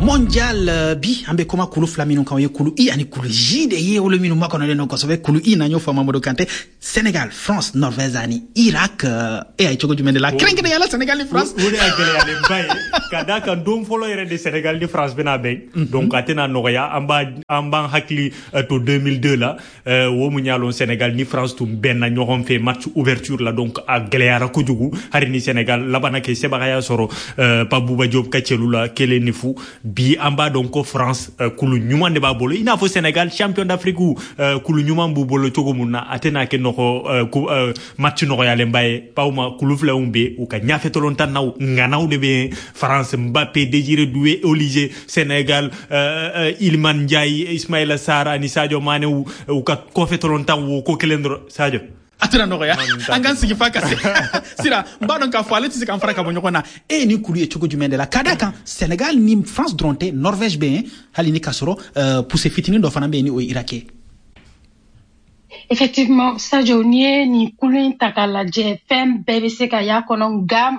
Mondial, bi an bɛ kuma kulu fila minnu kan, o ye kulu I ani kulu J de ye, olu minnu makɔnɔlen don kosɛbɛ. Kulu I na, n y'o fɔ Mamadu Kante, Sénégal, France, Norvège ani Irak. E y'a ye cogo jumɛn de la, kɛrɛnkɛrɛnnenya la Sénégal ni France? O de y'a gɛlɛyalenba ye, ka d'a kan don fɔlɔ yɛrɛ de Sénégal ni France bɛna bɛn, donc a tɛna nɔgɔya. An b'an hakili to 2002 la, wo mun y'a lɔn Sénégal ni France tun bɛnna ɲɔgɔn fɛ match ouverture la, donc a gɛlɛyara kojugu. Hali ni Sénégal labanna kɛ sebagaya sɔrɔ Pape Bouba Diop ka cɛlu la 1-0. Bi an b'a dɔn ko France kulu ɲuman de b'a bolo, i n'a fɔ Sénégal champion d'Afrique kulu ɲuman b'u bolo cogo mun na. A tɛna kɛ nɔgɔ match nɔgɔyalenba ye, bawma kulu filaw bɛ u ka ɲafɛ tolontannaw ŋanaw de bɛ France, Mbappé, Désiré Doué, Olise, Sénégal, Iliman Ndiaye, Ismaïla Sarr ani Sadio Mané, u ka kɔfɛ tolontan wo ko kelen dɔrɔn, Sadio. A tɛna nɔgɔya, an k'an sigi fa ka se sira. N b'a dɔn k'a fɔ ale tɛ se k'an fara ka bɔ ɲɔgɔn na. E ye nin kulu ye cogo jumɛn de la, ka d'a kan Sénégal ni France dɔrɔn tɛ, Norvège bɛ yen, hali ni k'a sɔrɔ poussée fitinin dɔ fana bɛ yen ni o ye Irak ye? Effectivement, Sadio, n'i ye nin kulu in ta k'a lajɛ, fɛn bɛɛ bɛ se ka y'a kɔnɔ, nka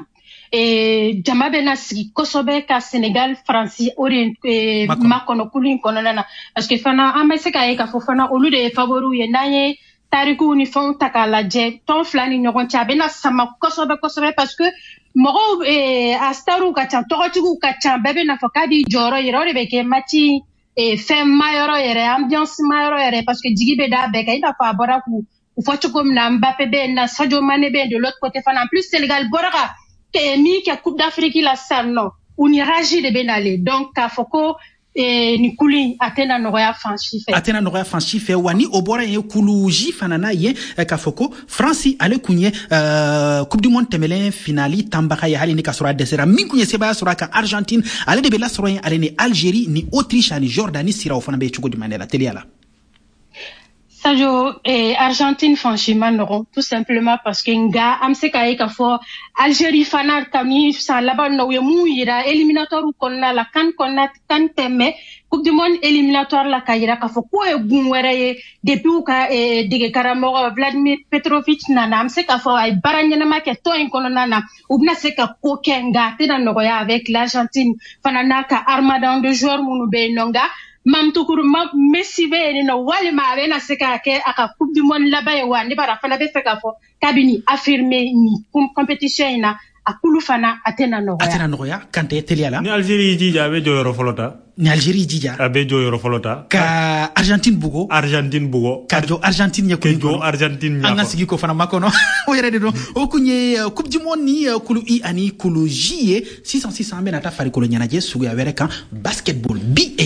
jama bɛna sigi kosɛbɛ ka Sénégal, Faransi o de makɔnɔ kulu in kɔnɔna na, parce que fana an bɛ se k'a ye k'a fɔ fana olu de ye favoriw ye. N'an ye tarikuw ni fɛnw ta k'a lajɛ tɔn fila ni ɲɔgɔn cɛ, a bɛna sama kosɛbɛ kosɛbɛ, parce que mɔgɔw a stariw ka ca, tɔgɔtigiw ka ca, bɛɛ bɛna fɔ k'a b'i jɔyɔrɔ yɛrɛ. O de bɛ kɛ match fɛn mayɔrɔ yɛrɛ, ambiance mayɔrɔ yɛrɛ, parce que jigi bɛ da bɛɛ kan, i n'a fɔ a bɔra k'u fɔ cogo min na, Mbappé bɛ yen na, Sadio Mané bɛ yen de l'autre côté fana. En plus, Sénégal bɔra ka min kɛ Coupe d'Afrique la sisan nɔ, u ni rage de bɛ nalen, donc k'a fɔ ko nin kulu in a tɛna nɔgɔya fan si fɛ. A tɛna nɔgɔya fan si fɛ wa. Ni o bɔra yen, kulu J fana n'a ye k'a fɔ ko France, ale kun ye Coupe du monde tɛmɛlen finali tanbaga ye, hali ni k'a sɔrɔ a dɛsɛra. Min kun ye sebaya sɔrɔ a kan, Argentine, ale de bɛ lasɔrɔ yen, ale ni Algérie ni Autriche ani Jordanie. Sira, o fana bɛ cogo jumɛn de la, teliya la? Sadio, Argentine fan si ma nɔgɔn, tout simplement parce que nga an bɛ se k'a ye k'a fɔ Algérie fana, kabini san laban na, u ye mun yira éliminatoire kɔnɔna la, CAN kɔnɔna, CAN tɛ, mais Coupe du monde éliminatoire la, k'a yira k'a fɔ k'o ye gun wɛrɛ ye. Depuis u ka dege karamɔgɔ Vladimir Petrovic nana, an bɛ se k'a fɔ a ye baara ɲɛnama kɛ tɔn in kɔnɔna na. U bɛna se ka ko kɛ, nka a tɛna nɔgɔya avec l'Argentine fana n'a ka armada de joueurs minnu bɛ yen nɔ. Nka Mamtukuru Messi bɛ yen nɔ, walima a bɛna se k'a kɛ a ka Coupe du monde laban ye wa? Ne b'a fana bɛ fɛ k'a fɔ k'a bɛ nin affirmer nin compétition in na. A kulu fana a tɛna nɔgɔya. A tɛna nɔgɔya. Kante, teliya la. Ni Algérie jija, a bɛ jɔyɔrɔ fɔlɔ ta. Ni Algérie jija, a bɛ jɔyɔrɔ fɔlɔ ta. Ka Argentine bugo. Argentine bugo. Ka jɔ Argentine ɲɛ. Ka jɔ Argentine ɲɛ. An ka sigi k'o fana makɔnɔ, o yɛrɛ de don. O kun ye Coupe du monde ni kulu I ani kulu J ye. Sisan sisan, an bɛna taa farikolo ɲɛnajɛ suguya wɛrɛ kan, basketball bi.